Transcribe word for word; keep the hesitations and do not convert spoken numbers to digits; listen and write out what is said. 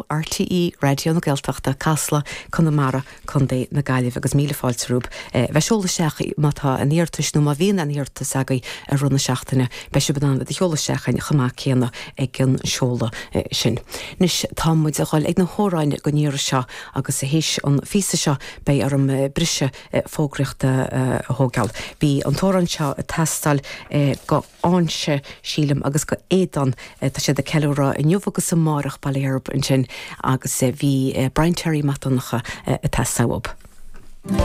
RTÉ Raidió na Gaeltachta Casla Conamara Contae na Gaillimhe agus míle fáilte romhaibh bheith ag seoladh isteach má tá aon iarratas nó má bhíonn aon iarratas agaibh i rith na seachtaine beidh sibh in ann iad a sheoladh isteach chomh maith céanna ag an seoladh sin. Anois tá muid ag dul ag na hamhráin don iarraidh seo agus théis an phíosa seo beidh orm briseadh fógraíochta a thógáil. Bhí an t-amhrán seo ag teastáil go Áinse sílim agus go Aodán tá siad ag ceiliúradh inniu agus amárach Baile Herb ansin agus bhí Brian Terry Mac Donncha ag teastáil uathub.